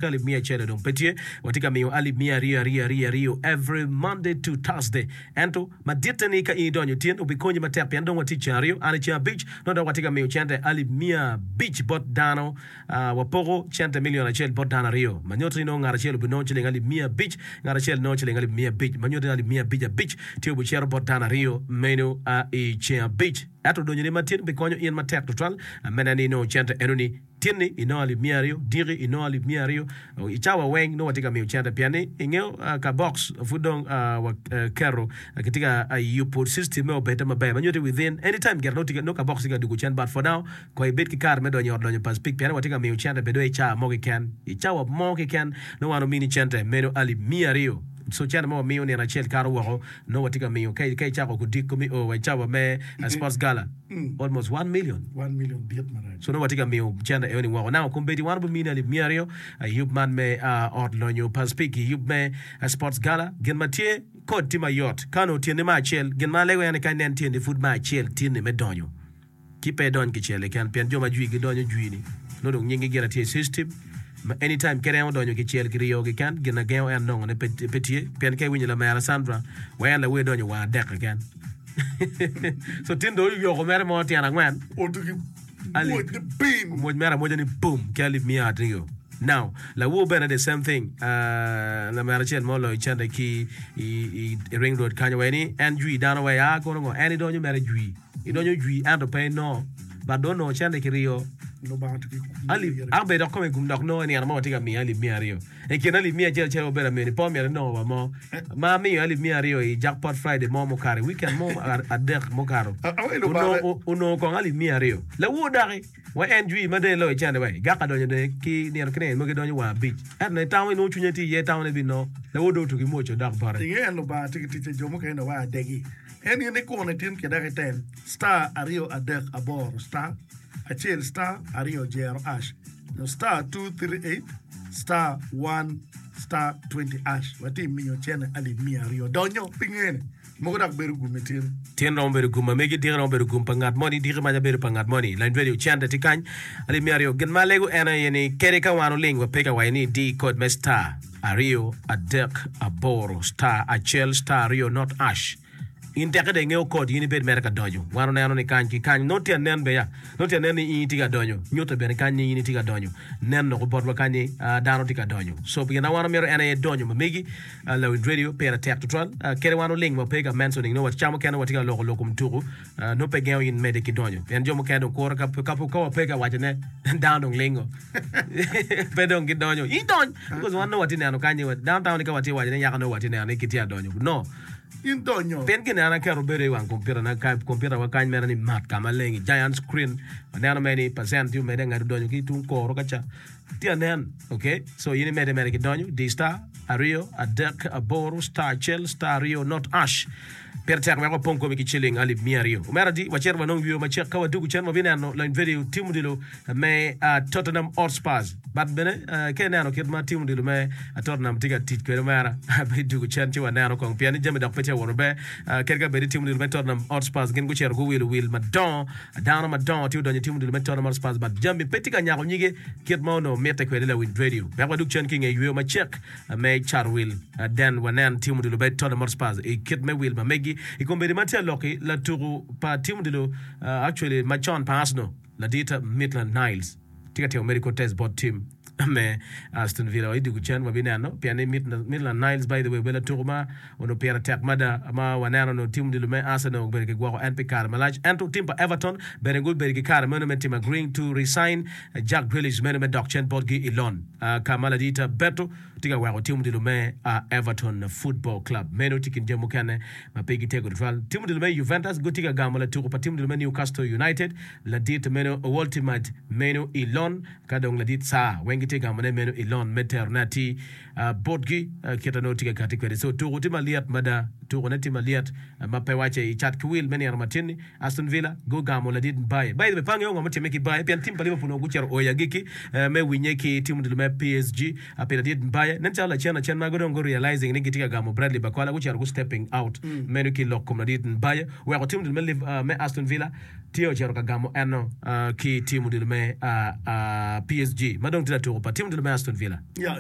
Alip miya acel dong pe tye. Watye ka miyo alip miya aryo aryo aryo aryo every Monday to Thursday. Ento maditte ni ka in idonyo tin obikonyi matek pien dong watye i ceng aryo, an i ceng abic nongo dok watye ka miyo cente alip miya abic bot dano. Wapoko cente million acel bot dano aryo. Ma nyuto ni nongo ngat acel obinongo ciling alip miya abic, ngat acel nongo ciling alip miya abic. Ma nyuto ni alip miya abic abic tye obicito bot dano aryo meno i ceng abic. Ento donyoni matin bikonyo in matek tutwal me neno ni inongo cente enoni. Tin-ni inongo alip miya aryo, diki inongo alip miya aryo, i cawa weng nongo watye ka miyo cente pien ni ingeyo ka box pud dong waketo kitye ka yubo system me obedde maber ma nyuto ni within any time gire nongo ka box tye ka dugo cen but for now kong ibed ki kare me donyo i ot lonyo pa Speke pien ni watye ka miyo cente bed dong i cawa mo keken i cawa mo keken nongo wan omini cente meno alip miya aryo so cente ma wamiyo nino acel kato woko nongo watye ka miyo ka icako kodiko me o wa i cawa me sports gala almost one million. One million dit marac. So nongo watye ka miyo cente eno ni woko. Now kombeddi wan wabimini alip miya aryo i yub man me ot lonyo pa Speke i yub me sports gala. Gin ma tye kod tye mayot. Ka onongo tyeni me acel, gin ma alego en ni ka inen tyeni pud me acel tyeni me donyo ci pe idony kicel keken pien jo ma jwi gidonyo jwi ni nongo dong nyingi gire tye i system ma anytime kadi en odonyo kicel kiryo keken gin na gengo en nongone pe tye pien ka iwinyo lamera Sandra wa en lawer donyo wang adek keken. So tin dong oyoko mere mo tyen angwen. Otugi mwoc ni bim. Omwoc mere amwoca ni bum ki alip miya aryo. Now, lawor bene the same thing. Uh, lamera acel mo oloyo cente ki i, i, i ring road kanyo wai ni en jwi dano wai a kono ngo en idonyo mere jwi. Idonyo jwi ento pe inongo. But dong onongo cente kiryo. Lubanga tugi Alip, an bene dok kome gum dok nongo i nino mo watye ka miyo alip miya aryo. I kin alip miya acel acel wabedo amyeni pe omyero inongo wa mo ma amiyo alip miya aryo i jackpot Friday mo mukato i weekend mo adek mukato onongo onongo kong alip miya aryo lawor daki wa en jwi ma dong iloyo cente wa gaka donyo dong ki nino ki nino mogo idonyo wa abic ento nongo itamo inongo cwinye tye iye itamo ni ebinongo lawor dong otugi mwoc odok bote. Inge en Lubanga tye ki ticce jo mukene wa adegi en in ikune tin ki dok item star aryo adek aboro star acel star aryo jero ash nyo star 238 star 1 star 20 ash watye miyo cene alip miya aryo donyo pi ngene mogo dok bedo gum itin. Tin romo bedo gum ma megi, diki romo bedo gum pa ngat moni, diki maca bedo pa ngat moni. Lany radio cente tye kany alip miya aryo. Gin ma alego en aye ni kadi ka wan oling wa pe ka waco ni di kod me star aryo adek aboro star acel star aryo not ash. In tekke dong ingeyo kod, in ibed mere ka donyo. Wan oneno ni kany ki kany nongo tye anen be ya. Nongo tye anen ni in itye ka donyo. Nyute bene kany ni in itye ka donyo. Nen loko botwa kany ni dano tye ka donyo. So gin ma wan wamito en aye donyo ma megi. Lawiny radio pire tek tutwal. Kadi wan oling wa pe ka mentioning nongo ca mukene watye ka loko lok kom tuku nongo pe gengo in medde ki donyo. Pien jo mukene dong kuro ka ka wa pe ka wacone dano dong lingo. Pe dong gidonyo. In dony! Because wan nongo watye neno kany ni dano tamo ni ka watye waco ni yaka nongo watye neno ni kitye ka donyo. No. In donyo. Pien gin an aketo bedo i wang kompiutana ka kompiuta wa kany mere ni mat ka maleng i giant screen waneno mere ni percent tye omedde ngat odonyo ki tung koro ka ca tye anen ok so in imedde mere ki donyo di star aryo adek aboro star acel star aryo not ash pire tek wek wapong komi ki ciling alip miya aryo omera di wacito wanong yweyo macek ka wadugu cen wabineno lony vedio tim odilo me Tottenham Hotspurs but bene ka ineno kit ma tim odilo me Tottenham tye ka tic kwede omera bidwogo cen ci waneno kong pien ni jami dok pe tye ka wot maber kadi ka bed ni tim odilo me Tottenham Hotspurs gin gucito guwilo wil madongo dano madongo tye odonyo i tim odilo me Tottenham Hotspurs but jami pe tye ka nyako nyige kit ma onongo mitte kwede lawiny radio wek wadug cen ki i nge yweyo macek me cato wil then wanen tim odilo me Tottenham Hotspurs i kit me wil ma megi i kombeddi ma tye aloki latuku pa tim odilo actually macon pa Arsenal Ladit Maitland Niles tye ka timo medical test bot tim me Aston Villa wa i dyeku cen wabineno pien ni Maitland Niles by the way obedo latuko ma onongo pire tek mada ma waneno onongo tim odilo me Arsenal obedo ki gwoko en pi kare malac ento tim pa Everton bene gubedo ki kare meno me timo agreeing to resign Jack Grealish meno me dok cen botgi i loan ka ma ladit Beto tye ka weko tim odilo me Everton Football Club. Meno tye kin jami mukene ma pe gitego tutwal. Tim odilo me Juventus gitye ka gamo latuko pa tim odilo me Newcastle United, ladit meno Woltemade meno i lon, ka dong ladit Sarr weng gitye ka gamone meno i lon me terone atir botgi kit ma nongo tye ka kati kwede. So tuko tye malyet mada, tukone tye malyet ma pe wacce i cat ki wil me nino matin-ni. Aston Villa gugamo ladit Mbaye. By the way, pe angeyo ngo mutimme ki Mbaye pien tim pa Liverpool onongo gucito oyo i agikki me winye ki tim odilo me PSG pi ladit Mbaye. Nen calo lacen lacen ma dong gu realizing ni gitye ka gamo Bradley Barcola gucito gu stepping out meno ki lok kom ladit Mbaye oweko tim odilo me Aston Villa tye ocito ka gamo eno ki tim odilo me PSG ma dong tye latuko. tuko pa tim odilo me Aston Villa.